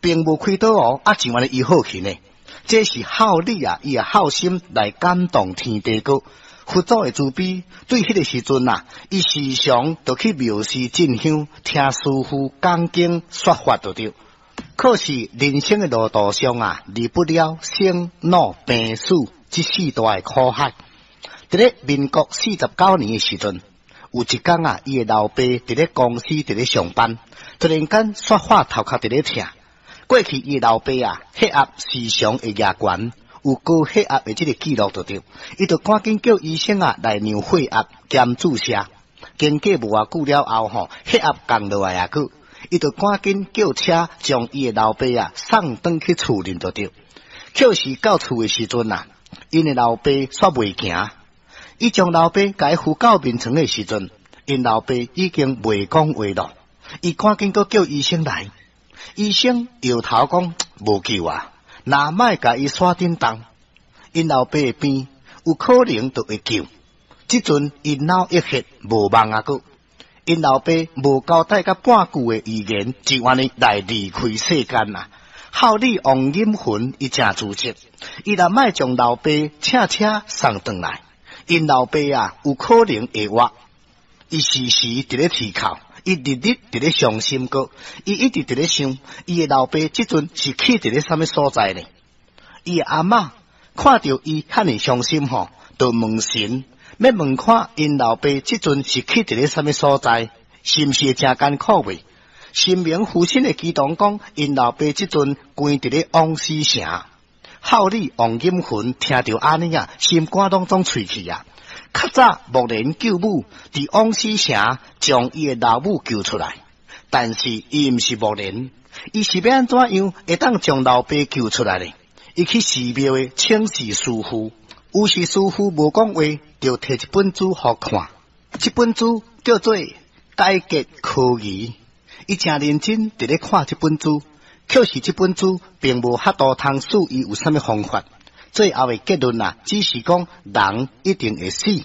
並無開刀哦，啊就按呢醫好去呢。這是孝理啊，伊的孝心來感動天地閣。佛祖的慈悲，對彼個時陣啊，伊時常就去廟寺進香，聽師父講經說法就對。可是人生的路途上啊，離不了生老病死這四大的苦海。佇咧民國49年的時陣，有一工啊，伊的老爸佇咧公司佇咧上班，突然間說話頭殼佇咧疼。過去伊的老爸啊，血壓時常會額懸，有高血壓的這个記錄就對，伊就趕緊叫醫生啊來量血壓兼注射。經過無偌久了後吼，血壓降落來啊，閣伊就趕緊叫車將伊的老爸啊送轉去厝裡就對。可是到厝的時陣啊，𪜶的老爸煞袂行。伊將老爸共伊扶到眠床的時陣，𪜶老爸已經袂講話囉。伊趕緊閣叫醫生來，醫生搖頭講無救啊，若莫共伊徙振動，𪜶老爸的病有可能就會救。這陣伊腦溢血無望啊閣，𪜶老爸無交代佮半句的遺言，就按呢來離開世間啊。孝女王錦雲伊誠自責，伊若莫將老爸請車送轉來，𪜶老爸啊，有可能會活。伊時時佇咧啼哭，伊日日佇咧傷心閣，伊一直佇咧想，伊的老爸這陣是去佇咧啥物所在呢？伊的阿嬤看著伊遐爾傷心吼，就問神，欲問看𪜶老爸這陣是去佇咧啥物所在，是毋是會誠艱苦未？神明父親的祈禱講，𪜶老爸這陣關佇咧枉死城。孝女王錦雲聽著按呢啊，心肝攏總碎去啊！較早目連救母佇枉死城將伊的老母救出來，但是伊毋是目連，伊是欲按怎樣會當將老爸救出來呢？伊去寺廟的請示師父，有時師父無講話，就提一本書予看，這本書叫做《解結科儀》，伊誠認真佇咧看這本書。可是這本書並無法度通示伊有啥物方法，最後的結論啊，只是講人一定會死。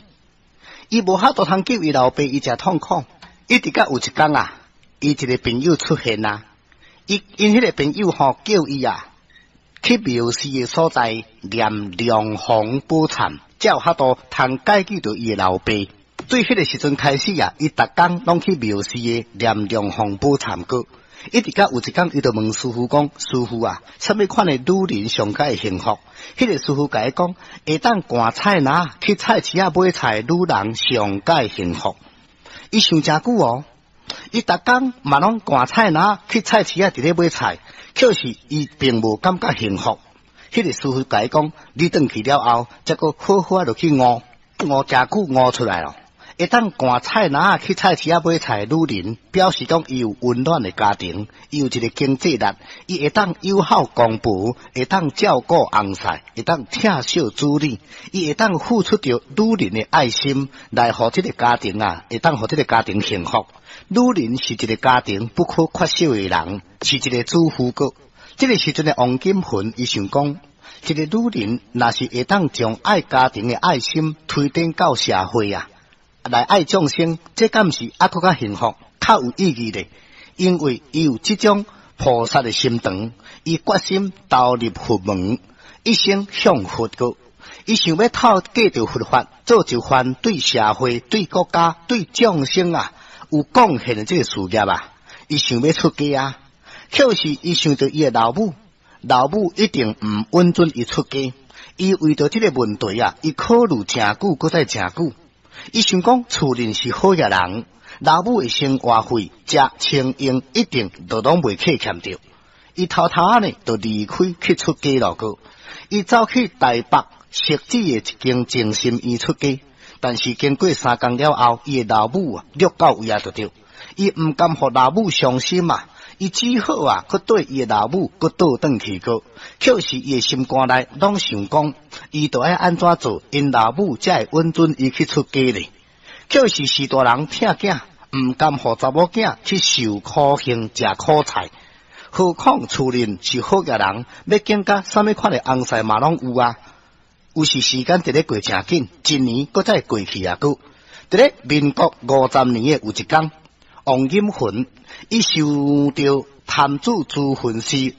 伊無法度通救伊老爸，伊誠痛苦。一直到有一工啊，伊一个朋友出現啊，伊𪜶彼个朋友吼叫伊啊去廟寺的所在念梁皇寶懺，才有法度通解救著伊的老爸。對彼个時陣開始啊，伊逐工攏去廟寺的念梁皇寶懺閣。一直到有一工，伊就問師父講：師父啊，啥物款的女人上較會幸福？彼個師父共伊講：會當趕菜籃去菜市仔買菜的女人上較會幸福。伊想誠久哦，伊逐工嘛攏趕菜籃去菜市仔佇咧買菜，可是伊並無感覺幸福。彼個師父共伊講：你轉去了後，才閣好好仔落去悟，悟誠久悟出來囉。會當趕菜籃去菜市仔買菜的女人，表示講伊有溫暖的家庭，伊有一个經濟力，伊會當友好公婆，會當照顧翁婿，會當疼惜子女，伊會當付出著女人的愛心，來予這个家庭啊，會當予這个家庭幸福。女人是一个家庭不可缺少的人，是一个主婦閣。這个時陣的王金雲，伊想講，一个女人若是會當將愛家庭的愛心推展到社會啊，來愛眾生，這敢毋是猶閣較幸福、較有意義咧？因為伊有這種菩薩的心腸，伊決心投入佛門，一生向佛閣。伊想欲透過著佛法，做一番對社會、對國家、對眾生啊有貢獻的這个事業啊。伊想欲出家啊，可是伊想著伊的老母，老母一定毋允准伊出家。伊為著這个問題啊，伊考慮誠久，閣再誠久。伊想講厝內是好額人，老母的生活費、食穿用一定都攏袂客欠著。伊偷偷仔呢，就離開去出家囉閣。伊走去台北汐止的一間靜心院出家，但是經過3工了後，伊的老母啊，掠到位啊，就對。伊毋甘予老母傷心啊，伊只好啊，閣綴伊的老母，閣倒轉去閣。可是伊的心肝內攏想講，伊著愛按怎做，𪜶老母才會允准伊去出家咧。可是序大人疼囝，毋甘予查某囝去受苦刑、食苦菜。何況厝內是好額人，欲揀佮啥物款的翁婿嘛攏有啊。有時時間佇咧過誠緊，一年閣再過去啊閣。佇咧民國50年的有一工，王錦雲伊受著潭子朱恨師有。